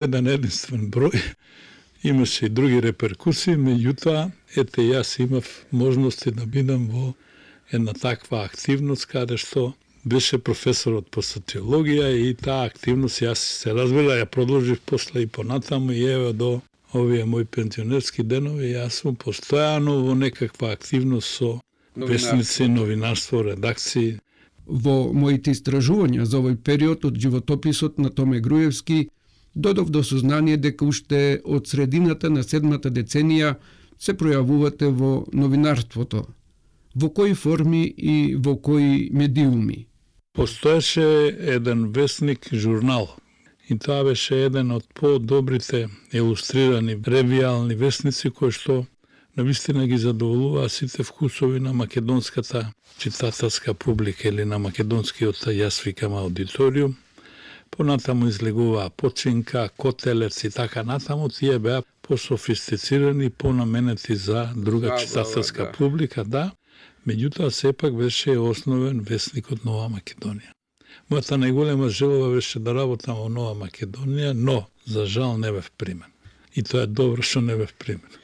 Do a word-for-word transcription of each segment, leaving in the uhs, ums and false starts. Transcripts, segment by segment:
еден единствен број, имаше и други реперкусии, меѓутоа, ете јас имав можности да бидам во една таква активност, каде што беше професорот по социологија и таа активност, јас се разбира, ја продолжив после и понатаму и еве до овие мои пензионерски денови, јас сум постојано во некаква активност со весници, новинарство, редакции. Во моите истражувања за овој период од животописот на Томе Груевски додов до сознание дека уште од средината на седмата деценија се пројавувате во новинарството. Во кои форми и во кои медиуми? Постоеше еден весник журнал и тоа беше еден од по-добрите илустрирани ревијални весници кои што навистина ги задоволуваа сите вкусови на македонската читателска публика или на македонскиот, јас викам, аудиториум. Понатаму излегуваа Починка, Котелец и така натаму, тие беа пософистицирани, понаменети за друга да, читателска да, да. публика, да. Меѓутоа, сепак беше основен весникот Нова Македонија. Мојата најголема желба беше да работам во Нова Македонија, но, за жал, не бев примен. И тоа е добро што не бев примен.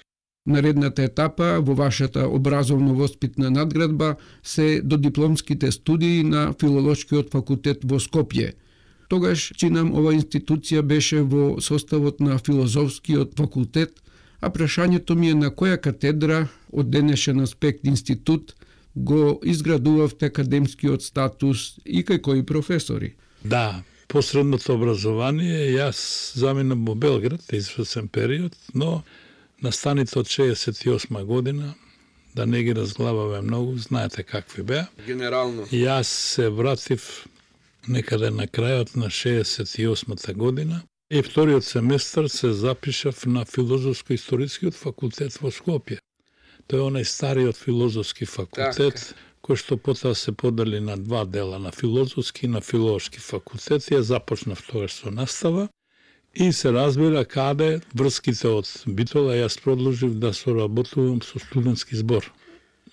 Наредната етапа во вашата образовно-воспитна надградба се додипломските студии на Филолошкиот факултет во Скопје. Тогаш, чинам, ова институција беше во составот на Филозофскиот факултет, а прашањето ми е на која катедра од денешен аспект институт го изградувавте академскиот статус и кај кои професори? Да, посредното образование, јас заминав во Белград извесен период, но настаните од шеесет и осма година, да не ги разглаваме многу, знаете какви беа. Генерално. Јас се вратив некаде на крајот на шеесет и осмата година и вториот семестар се запишав на Филозофско-историскиот факултет во Скопје. Тој е онај стариот филозофски факултет, так, кој што потоа се подели на два дела, на филозофски и на филолошки факултет. Ја започнав тогаш со настава и се разбира каде врските од Битола, јас продолжив да соработувам со студентски збор.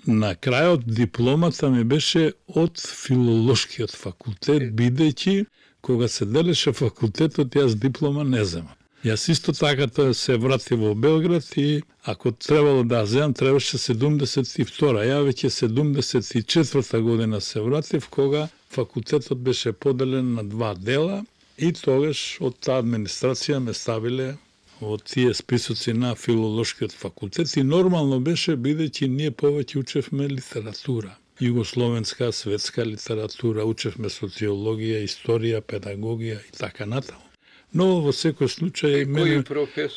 На крајот дипломата ми беше од филолошкиот факултет, бидејќи кога се делеше факултетот, јас диплома не земам. Јас исто така тоа се вратив во Белград и ако требало да земам, требаше седумдесет и втора. Ја веќе седумдесет и четврта година се вратив, кога факултетот беше поделен на два дела и тогаш од таа администрација ме ставиле во тие списоци на Филолошкиот факултет и нормално беше, бидејќи ние повеќе учевме литература. Југословенска, светска литература, учевме социологија, историја, педагогија и така натаму. Но во секој случај мене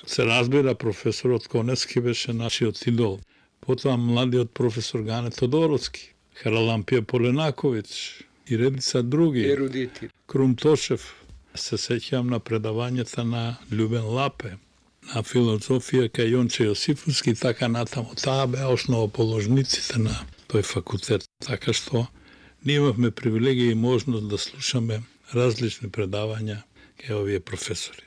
се разбира професорот Коневски беше нашиот идол. Потоа младиот професор Гане Тодоровски, Харалампија Поленаковиќ и редица други. Ерудити. Крум Тошев. Се сеќавам на предавањата на Љубен Лапе, на филозофија кај Јонче Јосифовски и така натаму. Таа беа основоположниците на тој факултет. Така што ние имавме привилегија и можност да слушаме различни предавања кај овие професори.